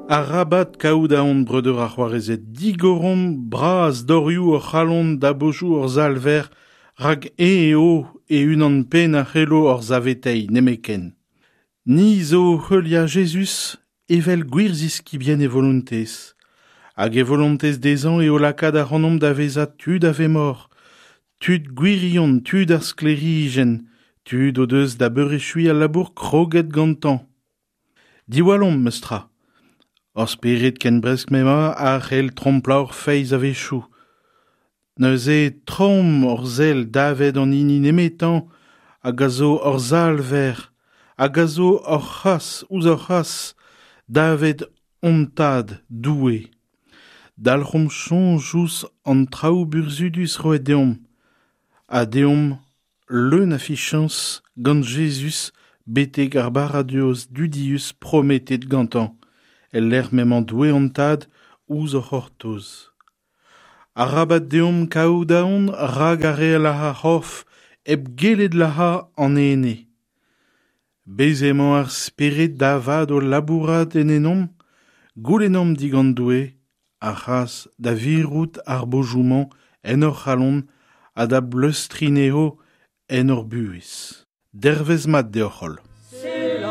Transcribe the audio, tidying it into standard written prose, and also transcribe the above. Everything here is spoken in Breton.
Arabat kaout aon breudeur ha c'hoarezed, digoromp bras dorioù hor c'halon da bojoù hor Salver, rak eñ eo e-unan-penn a c'hello hor saveteiñ nemetken. Ni zo heuliañ Jezuz evel gwir ziskibien e volontez. Hag e volontez dezhañ eo lakaat ac'hanomp da vezañ tud a vemor, tud gwirion, tud ar sklêrijenn, tud o deus da beurechuiñ al labour kroget gantañ. Diwallomp, memes tra. Hor spered ken bresk m'emañ a c'hell tromplañ hor feiz a-wechoù. Neuze troomp hor sell davet an hini nemetañ hag a zo hor Salver, hag a zo hor c'has ouzh hor c'has davet hon Tad Doue. Dalc'homp soñj ouzh an traoù burzhudus roet deomp, ha deomp leun a fichañs gant Jezuz betek ar baradoz dudius prometet gantañ, el lec'h m'emañ Doue hon Tad ouzh hor c'hortoz. Arabat deomp kaout aon rak ar re a lazh ar c'horf hep gellet lazhañ an ene. Bez' emañ ar spered da vat o labourat en ennomp, goulennomp digant Doue ar c'hras da virout ar bojoù-mañ en hor c'halon ha da bleustriñ anezho en hor buhez. Dervezh mat deoc'h-holl.